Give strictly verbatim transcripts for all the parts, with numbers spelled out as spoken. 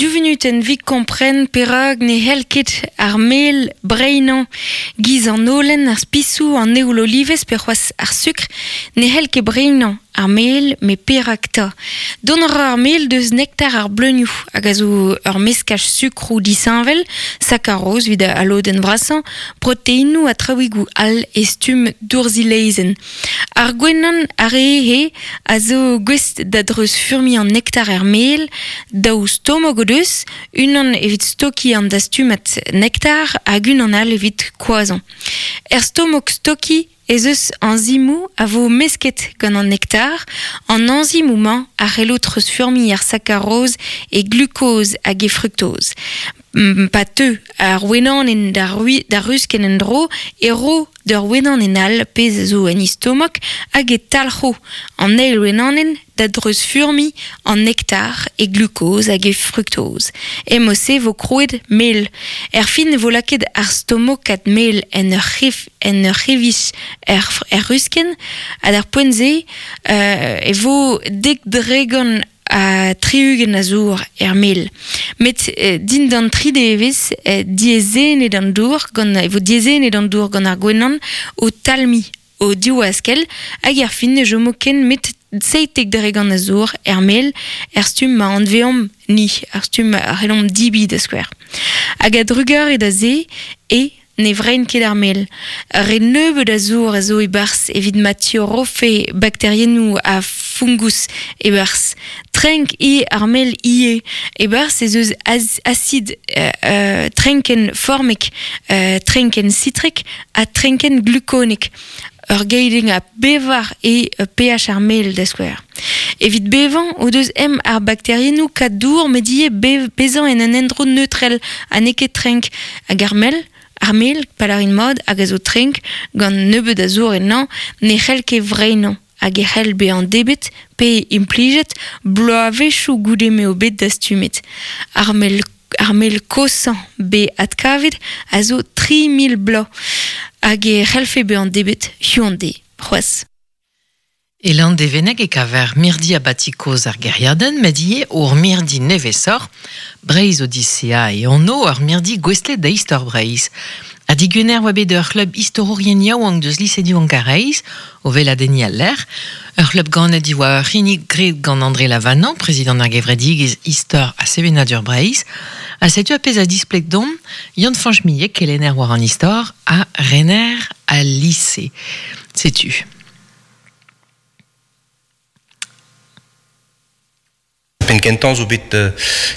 Du venutenn 'vit kompren perak ne c'hell ket ar mel breinañ giz an holen ar spisoù an eoul olivez pe c'hoazh ar sukr ne c'hell ket breinañ ar mel met perak 'ta. Dont a ra ar mel deus nektar ar bleunioù hag a zo ur meskaj sukroù disheñvel, sakaroz 'vit al lodenn vrasañ, proteinoù ha traouigoù all e stumm dourzilezenn. Ar gwenan ar re a zo gouest da dreuzfurmiñ an nektar er mel, daou stomok o deus, unan evit stokiñ an dastumad nektar hag unan all evit koazhañ. Er stomok stokiñ ez eus enzimoù a vo mesket gant an nektar, an enzimoù-mañ a c'hello treuzfurmiñ ar sakaroz e glukoz hag e fruktoz. Pa teu ar wenanenn d'ar d'ar ruskenn en-dro e ro d'ur wenanenn all pezh zo en he stomok hag e talc'ho an eil wenanenn da dreuzfurmiñ an nektar e glukoz hag e fruktoz. E-mod-se vo krouet mel. Er fin e vo lakaet ar stomokad mel en ur c'hef en ur c'hevij er, er ruskenn ha d'ar poent-se euh, e vo dek dregont ha tri-ugent a zour er mel. Met eh, dindan tri devezh eh, diaezhennet an dour gant e vo diaezhennet an dour gant ar gwenan o talmiñ o div-askell hag er fin ne chomo ken 'met seitek dregont a zour er mel er stumm ma anveomp ni, ar stumm a c'hellomp debriñ da skouer. Hag a drugarez da se e ne vrein ket ar mel. Re nebeut a zour a zo e-barzh evit ma tiorrofe bakteriennoù ha fungus e-barzh. Trenk eo ar mel ivez. E-barzh ez eus acid euh, euh, trenkenn formek, euh, trenkenn sitrek ha trenkenn glukonek. Ur geidenn a bevar eo pH ar mel da skouer. Evit bevañ o deus ezhomm ar bakteriennoù kaout dour met ivez bezañ en un endro neutrel ha n'eo ket trenk hag ar mel ar mel, pa lârin mat, hag a zo trenk gant nebeut a zour ennañ, ne c'hell ket vreinañ hag e c'hell bezañ debret pe implijet bloavezhioù goude m'eo bet dastumet. Ar mel ar mel koshañ bet adkavet a zo tri mil bloaz hag e c'hellfe bezañ debret hiziv an deiz c'hoazh. E Landevenneg e kaver mirdi abati kozh ar gêriadenn, met ivez ur mirdi nevesoc'h, Breizh Odisea e anv ur mirdi gouestlet da istor Breizh. Ha digwener oa bet ur c'hlub istorourien yaouank deus lise Diwan Karaez, o weladenniñ al lec'h. Ur c'hlub ganet diwar ur c'hinnig graet gant André Lavanant, prezidant ar gevredigezh Istor ha Sevenadur Breizh. Ha setu ar pezh a displeg deomp Yann-Fañch Millet, kelenner war an istor, ha rener al lise. Setu. Penn kentañ zo bet euh,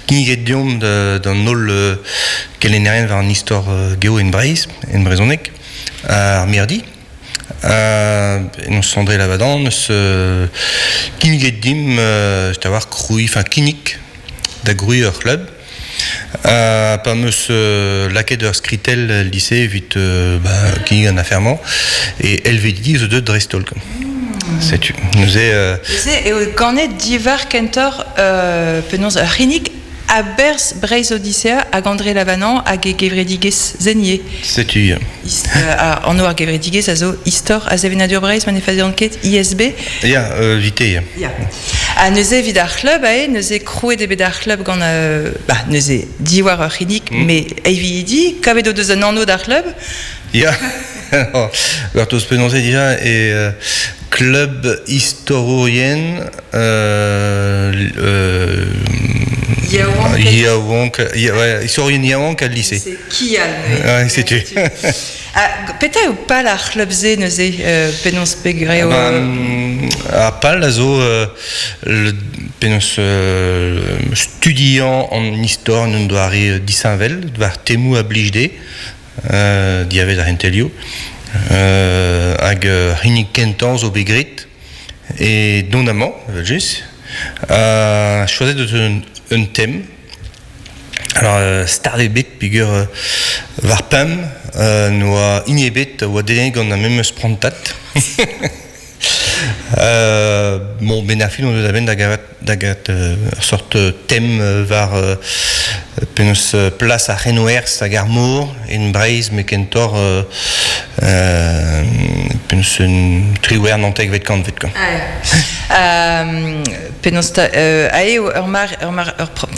kinniget deomp d'an holl euh, kelennerien war an istor euh, geo en Breizh, en brezhoneg, ar mirdi. Euh, eus André Lavadan, eus euh, kinniget dimp euh, a war krouiñ, enfin kinnig da grouiñ ur c'hlub. Euh, pa 'm eus euh, lakaet ur skritell el lise evit euh, ba, kinnig an afer-mañ e L V D zo deuet dreist-holl. Setu. Neuze euh, Neuze eo ganet diwar kentoc'h euh, penaos ur c'hinnig a-berzh Breizh Odisea hag André Lavanant hag e gevredigezh Zenier. Setu. Ist, euh, anv ar gevredigezh a zo Istor ha Sevenadur Breizh ma ne fazian ket I S B. Ya, euh, vite, ya. Ya. Ha neuze evit ar c'hlub ae, neuze krouet eo bet ar c'hlub gant euh, bah, neuze diwar ur c'hinnig, mm. met eividi, kavet o deus un anv d'ar c'hlub. Ya. Gortoz penaos dija e euh, klub istorourien euh, euh, Yaouank, ouais, istorourien yaouank al lise. Kial. Ouais, setu. Ah, petra eo pal ar c'hlub-se neuze euh, penaos pegre eo... Ah ben, ar pal a zo euh, le, penaos euh, studiañ an istor en un doare disheñvel, war temoù a blij dezhe, euh, diavez ar c'hentelioù, euh, hag euh, hini kentañ zo bet graet e dont amañ, evel-just, euh, choazet deus un, un thème. Alors, euh, start eo bet peogwir euh, war pemp euh, n'oa hini ebet oa dedennet gant ar memes prantad. euh, bon, ben ar fin on deus a-benn da gavat, da gavat euh, ur sort thème euh, war euh, penaos euh, plas ar c'henwerzh hag ar mor en Breizh met kentoc'h euh, euh, penaos un triwec'h naontekvet kantved quoi. Ah, euh, penaos ta, euh, ae ur mar, ur mar, ur